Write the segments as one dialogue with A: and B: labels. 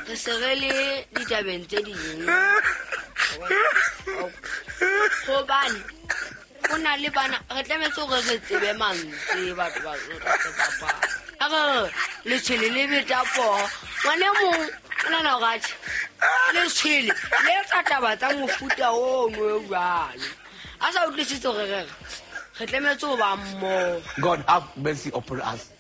A: Re se re le ditabeng tse ding. Gobane go na le bana re tlametse gore re tsebe mantswe batho ba re se bapala. A re letshwele le beta poo. Ngwane mong o nana gore atjhe letshwele le etsa taba tsa mofuta ono e jwalo. A sa utlwisitse gore re re re tlametse ho ba mmoho.
B: God have mercy upon us.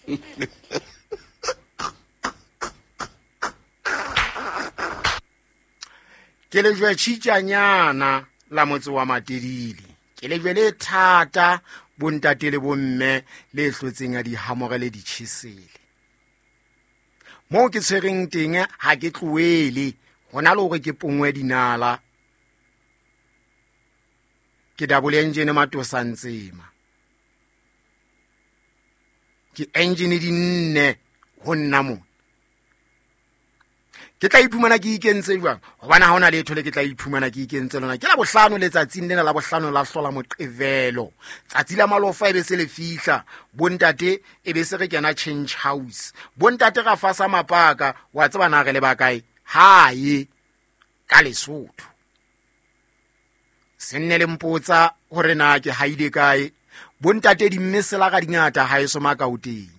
C: Ke lejwe tšhitšanyana la motse wa Matedile. Ke lejwe le thata bontate le bomme le hlotseng ya dihamore le ditjhesele. Moo ke tshwereng teng ha ke tlohele, hona le hore ke pongwe dinala. Ke double engine matosa ntsema. Ke engine di nne ho nna mona. Ke tla iphumana ke ikentse jwang? Hobane ha hona letho le ke tla iphumana ke ikentse lona. Ke la bohlano letsatsing lena la bohlano la hlola Moqebelo. Tsatsi la malofa e be se le fihla, bontate e be se re kena change house. Bontate ra fasa mapaka, wa tseba na re le ba kae? Hae ka Lesotho. Se nne le mpotsa hore na ke haile kae. Bontate di mme sela ga dingata haeso Makaoteng.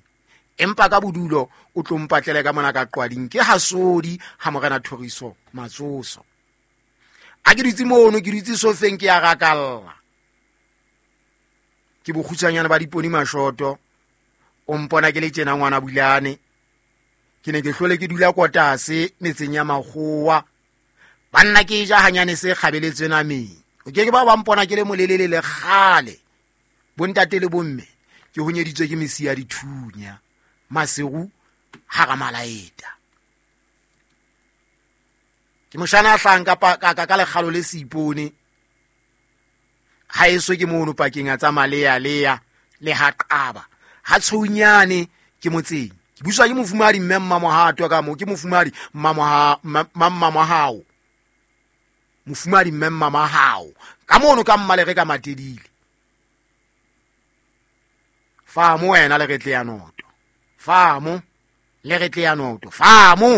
C: Empa ka bodulo o tlo mpatlele ka mona ka qwading ke hasodi ha morena Thoriso Matsoso. A ke dutse mono, ke dutse sofeng ke ya rakalla. Ke bokgutshwanyane ba diponi mashoto. O mpona ke le tjena ngwana Bulane. Ke ne ke hlole ke dula kotase metseng ya makgowa. Banna ke ja hanyane se kgabeletswe nameng. O ke ke ba ba mpona ke le molelele le kgale. Bontate le bomme ke honyeditswe ke mesi ya dithunya. Maseru hara malaeta. Ke moshana a hlahang ka lekgalo le seipone. Ha eso ke mono pakeng a tsa malea lea le ha qaba. Ha tshounyane ke motseng. Ke buswa ke mofumahadi mme Mmamohato ka moo, ke mofumahadi Mmamohao. Mofumahadi mme Mmamohao. Ka mono ka mmalere ka Matedile. Famo wena le re tle ya noto. Famo le re tle ya noto. Famo.